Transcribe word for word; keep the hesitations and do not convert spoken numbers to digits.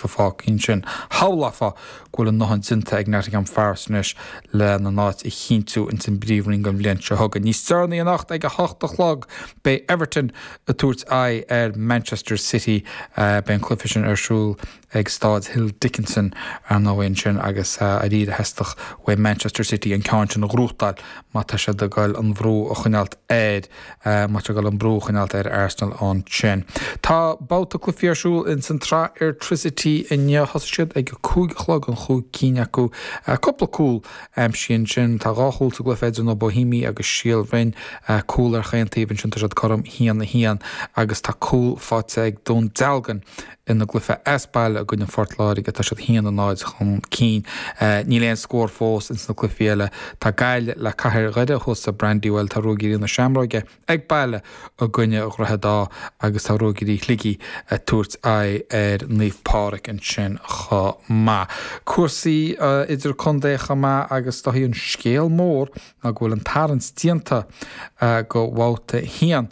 cluife fágtha ansin. Shamhlófá go bhfuil a ndóthain déanta ag Nottingham Forest anois lena n-áit a chinntiú ins an bPríomhroinn don bhliain seo chugainn. Níos deireanaí anocht ag a hocht a chlog beidh Everton ag tabhairt aghaidh ar Manchester City beidh an cluiche sin ar siúl ag Staid Hill Dickinson ar ndóigh ansin agus arís theastódh ó Manchester City an ceann sin a ghnóthachtáil má tá siad ag goil an brú a choinneáilt ar má tá goil an brú a choinneáilt ar Arsenal ansin. Tá babhta cluichí ar siúl in san tsraith Airtricity inniu thosaigh siad ag cúig a chlog an chúig cinn acu cúpla cúl aimsithe ansin tá dhá chúl sa gcluiche idir na Bohemians agus Síol Bhroin cúl ar chaon taobh ansin tá siad cothrom haon a haon agus tá cúl faighte ag Dún Dealgan ina gcluiche as baile i gcoinne Phort Láirge tá siad haon a náid chun cinn. Níl aon scór fós ins na cluichí eile tá Gaillimh le Cathair Dhoire thuas sa Brandywell tá Ruagairí na Seamróige ag baile i gcoinne Dhroichead Átha agus tá Ruagairí Shligigh ag tabhairt aghaidh ar Naomh Pádraig ansin chomh maith. Cúrsaí idir contae chomh maith agus tá an scéal mór ná go bhfuil an tarraingt déanta go babhta a haon.